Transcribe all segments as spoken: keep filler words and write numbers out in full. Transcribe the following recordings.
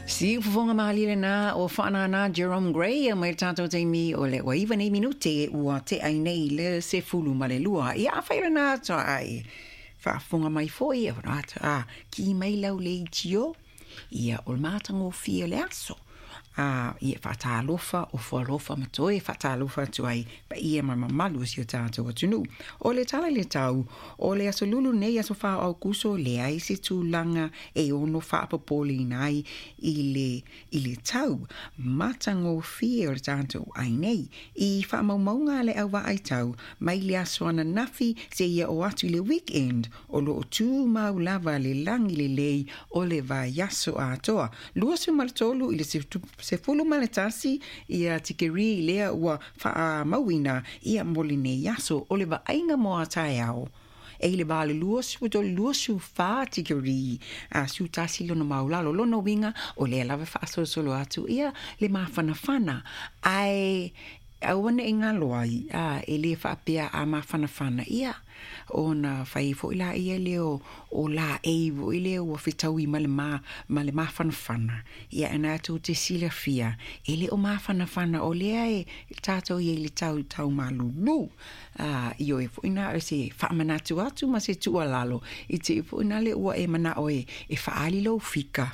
Siufofoga malie lena o faanana Jerome Gray mai le tatou taimi o le ua iva nei minute ua tea ai nei le sefulu ma le lua. Ia afai lena ai faafofoga mai foi a ki mai lau leitio ia o le matagofie o le aso. A ia faatalofa o fualofa ma toe faatalofa atu ai paia ma mamalu o si o tatou atunuu. O le tala i le tau o le aso lulu nei aso fā o Aukuso, leai se tulaga e ono faapopoleina ai i le, i le tau matagofie o le tatou ai nei. I faamaumauga a le au vaai tau mai le aso ananafi seia oo atu i le weekend, o loo tumau lava le lagi lelei o le vaiaso atoa. Luasefulu ma le tolu i le sefulu ma le tasi ia tikeri lea ua faamauina ia mo lenei aso. O le vaaiga mo a taeao e i le va o le luasefulu tolu luasefulu fa tikeri a siu tasi lona maulalo. Lona uiga o lea lava faasolosolo atu ia le mafanafana ae aua nei galo ai a e lē faapea a mafanafana ia ona fai foi la ia lea o, o laei foi lea ua fetaui ma le ma, ma le mafanafana ia e na tou te silafia e le o mafanafana o lea e tatou ia i le tau tau malulu a ioe foi na o se faamanatu atu ma se tuualalo i te foi na le ua e manao e e faaali lou fika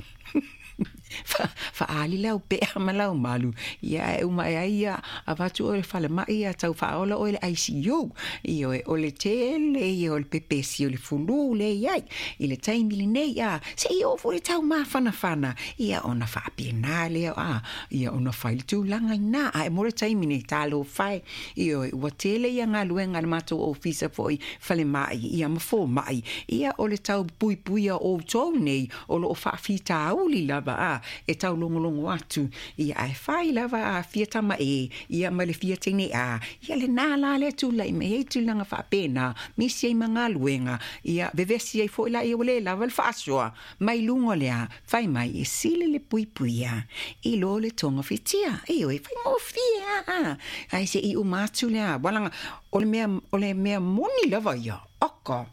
faaali lau pea ma lau malu ia e uma e ai ia avatu oe le falemai ia tau faaola oe le I C U. Ioe, o le tele ia o le pepesi o le fulu le iai i le taimi lenei a seia oo foi le tau mafanafana ia ona faapena lea a ia ona fai le tulaga ina ae mo le taimi nei talofa e. Ioe, ua tele ia galuega a le matou ofisa foi falemai ia ma fomai ia o le tau puipuia outou nei o loo faafitauli lava a e taulogologo atu ia ae fai lava a fia tama e ia ma le fia teine a ia lenā la lea tulai mai ai tulaga faapena misi ai ma galuega ia vevesi ai foi la ia ua lē lava le faasoa mai luga o lea fai mai e sili le puipuia i lo le togafitia. Ioe, faigofie a ae seʻi uma atu lea walaga o le mea o le mea moni lava ia aka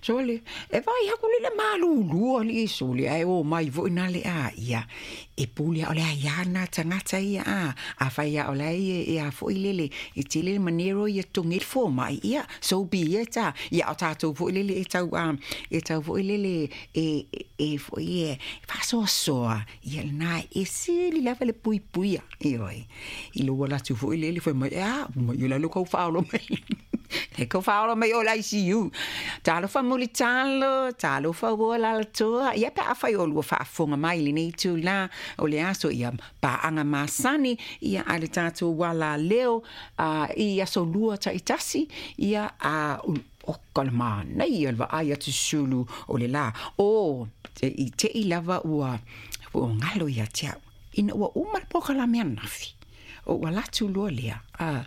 sole e vai haku le malulu ali sole ai o mai foi na le a ia e pule o le ia na tangata ia a a fai ia o le e a foi lele e tele manero ia tongi fo mai ia so be it a ia o tatou foi lele e tau a e tau foi lele e e foi e faasoasoa ia na e sili lava le puipuia. Ioe, i lo wala tu foi lele foi mai a mai ia lo kau whaolo mai le kau whaolo mai o la I C U. Talofa mulitalo, talofa ua lalatoa. Ia pe afai o lua faafofoga mai lenei itulā o le aso ia paaga masani ia a le tatou wala leo uh, i aso lua taitasi ia a o ka le manaia le vaai atu sulu o le lā o i teʻi lava ua ua galo ia te au ina ua uma le polokalame ananafi o ua latu loa lea a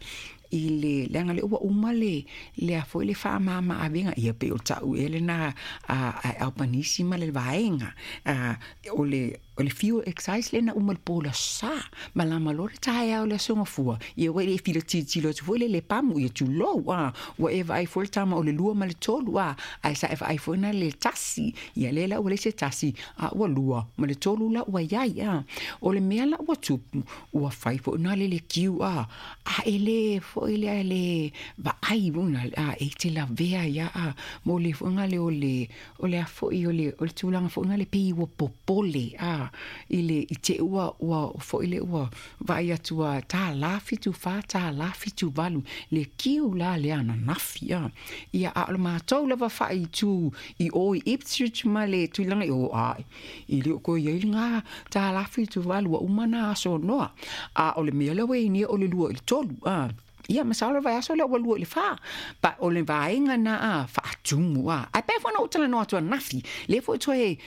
i le leaga le ua uma le lea foi le faamama avega ia pe o ta'u ea lena a a Albanese ma le vaega a o le o le fuel excise lena uma le pola sa malama loa le taeao le aso gafua ia ua le fila tilotilo atu foi le le pamu ia tulou a ua e vaai foi le tama o le lua ma le tolu a ae sa e vaai foi na le tasi ia le la ua le se tasi a ua lua ma le tolu la ua iai a o le mea la ua tupu ua fai foi na le le kiu a a e le foi le le vaai una a e te lavea ia a mo le foi le o le o le a foi o le o le tulaga foi le pei ua popole a i le i te ua ua foi le ua vaai atu a tālā fitu fā tālā fitu valu le kiu la le ananafi a ia a o le matou lava faaitu i o i Ipswich ma le tulaga i o a i le o koe iai le ngā tālā fitu valu ua uma na aso noa a o le mea la ua i o le lua i le tolu a ia masalo vaiaso lea ua lua i le fā pa o le vaega na a faatumu a ae pea foi na ou talanoa atu ananafi lea foi toe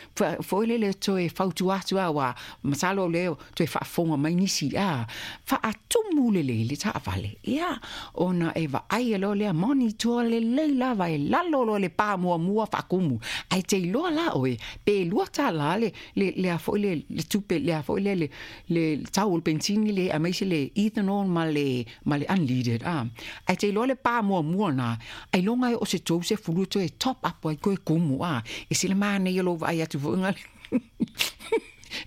foi lele toe fautua atu a ua masalo lea toe faafofoga mai nisi a faatumu lelei le taavale ia ona e vaai loa lea monitor lelei lava e lalo loa le pā muamua faakumu ae te iloa la oe pe lua tālā le le lea foi le le tupe lea foi le le le tau o le pensini le aemaise le ethanol ma le ma le unleaded a ae te iloa le pā muamua na ailoga e o se tou sefulu toe top up ai koe kumu a e sila manaia lou vaai atu foi gale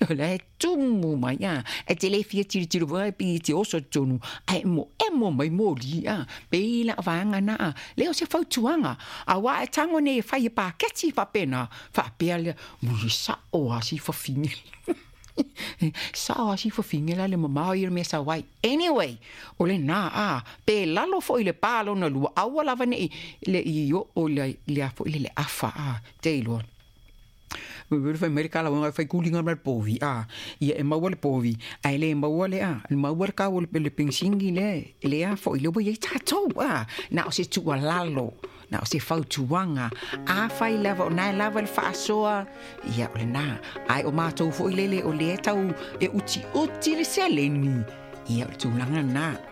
O la e tumu mai a e te le fia tilotilo foi pe te oso i totonu ae emoemo mai moli a pei la vaega na a lea o se fautuaga auā e tago nei e fai e paketi faapena faapea lea muli saʻo a si fafine sao a si fafine la le mamao ia le mea sau ai. Anyway, o lenā a pe lalo foʻi le pa lona lua aua lava neʻi le i oo le le a foʻi le le afa a te iloa fai mai le kalauga e fai kuliga ma le povi a ia e maua le povi ae lē maua le a le maua le kau o le penisini lea lea foʻi le ua iai tatou a na o se tuualalo na o se fautuaga afai lava o nae lava le faasoa ia o lenā ae o matou foʻi lele o lea tau e utiuti le seleni ia o le tulaga lenā.